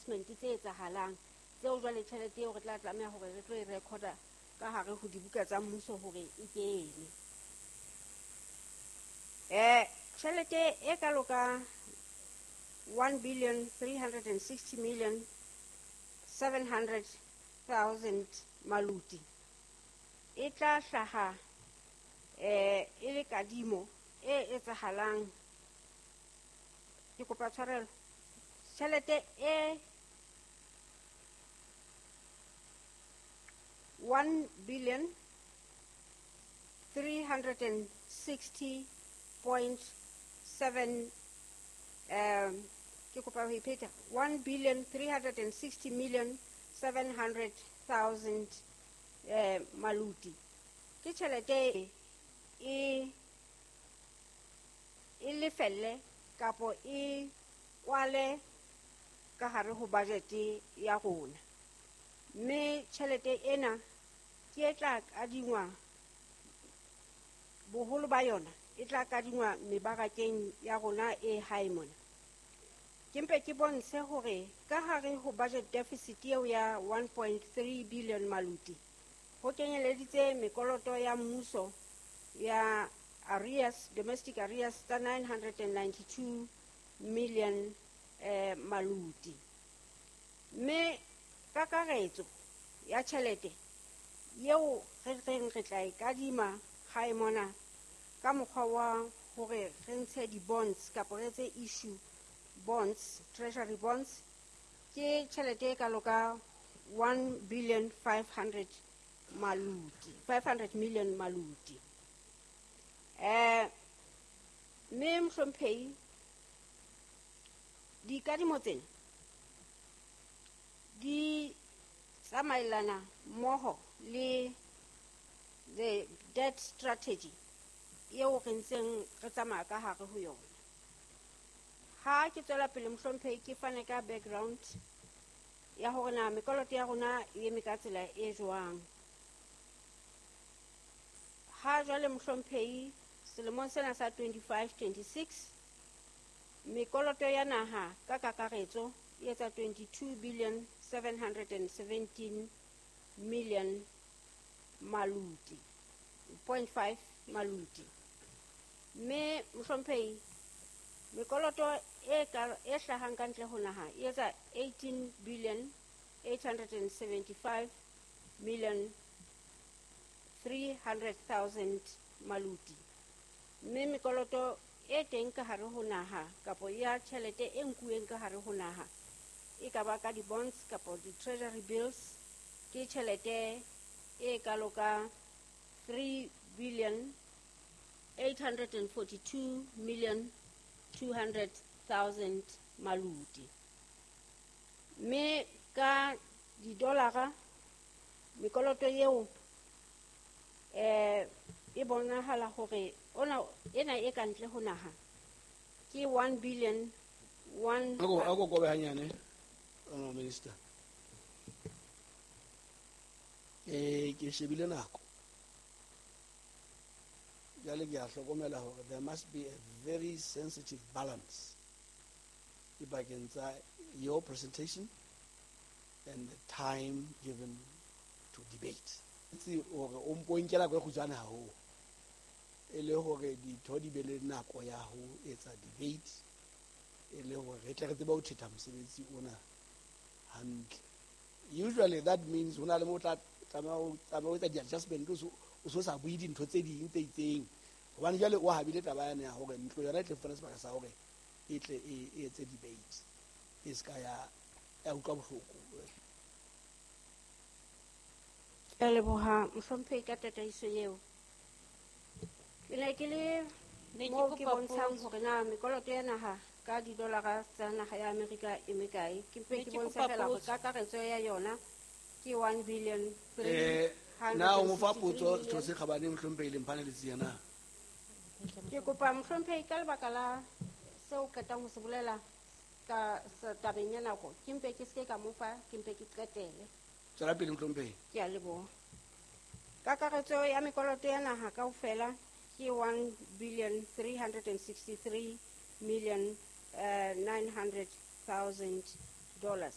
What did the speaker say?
di-adjustment tse etsahalang tseo jwale tjhelete eo re tla tlameha hore re tlo e recorda ka hare ho dibuka tsa mmuso hore e kene. Tjhelete e kalo ka 1 billion 360 million 700,000 maluti e tla hlaha e le kadimo e etsahalang. Ke kopa tshwarelo, tjhelete e 1 billion 360.7 ke kopa ho ipheta 1 billion 360 million 700,000 maluti ke tjhelete e lefelle kapo e kwale ka hare ho budget ya rona, mme tjhelete ena ke e tla kadingwa, boholo ba yona e tla kadingwa mebarakeng ya rona e hae mona. Ke mpe ke bontshe hore ka hare ho budget deficit eo ya 1.3 billion maluti ho kenyeleditse mekoloto ya mmuso ya arrears, domestic arrears tsa 992 million maluti. Mme kakaretso ya tjhelete eo re reng re tla e kadima hae mona ka mokgwa wa hore re ntshe di-bonds kapa re etse issue bonds, treasury bonds, ke tjhelete e kalo ka 1 billion 500 maluti, 500 million maluti. Mme mohlomphehi, dikadimo tsena di tsamaelana mmoho le the debt strategy eo re ntseng re tsamaya ka hare ho yona. Ha ke tswela pele mohlomphehi, ke fane ka background ya hore na mekoloto ya rona e eme ka tsela e jwang. Ha jwale mohlomphehi, selemong sena sa 25-26 mekoloto ya naha ka kakaretso e etsa 22 billion 717 million maluti, 0.5 maluti. Mme mohlomphehi, mekoloto e hlahang ka ntle ho naha e etsa 18 billion 875 million 300,000 maluti. Mme mekoloto e teng ka hare ho naha kapo ya tjhelete e nkuweng ka hare ho naha e ka ba ka di-bonds kapo di-treasury bills ke tjhelete e kalo ka 3 billion 842 million 200,000 maluti. Mme ka di-dollara mekoloto eo e bonahala hore ona ena e ka ntle ho naha ke 1 billion 1. Ako kobe hanyane, honorable minister. Ke shebile nako. Jwale ke a hlokomela hore there must be a very sensitive balance dipakeng tsa your presentation and the time given to debate. Itse hore o mpo nkela nako e kgutshwane haholo, e le hore ditho di be le nako ya ho etsa debate, e le hore re tle re tsebe ho thetha mosebetsi ona hantle. Usually that means ho na le mo tla tlameha ho etsa di-adjustment, o so sa bue dintho tse ding tse itseng, hobane jwale o habile taba yane ya hore ntlo yona e tle fumane sebaka sa hore e tle e etse debate, e ska ya utlwa bohloko. Ke a leboha mohlomphehi ka tataiso eo. Ke ne ke le moo ke bontshang hore na mekoloto ya naha ka di-dollara tsa naha ya Amerika e mekae. Ke mpe ke bontsha fela hore kakaretso ya yona ke 1 billion 300. Na o mo fa potso Setho se Kgabane mohlomphehi le mphane letsi na? Ke kopa mohlomphehi ka lebaka la seo qetang ho se bolela ka tabeng ya nako, ke mpe ke seke ka mo fa, ke mpe ke qetele. Tswela pele mohlomphehi. Ke a leboha. Kakaretso ya mekoloto ya naha kaofela ke 1 billion 363 million 900,000 dollars.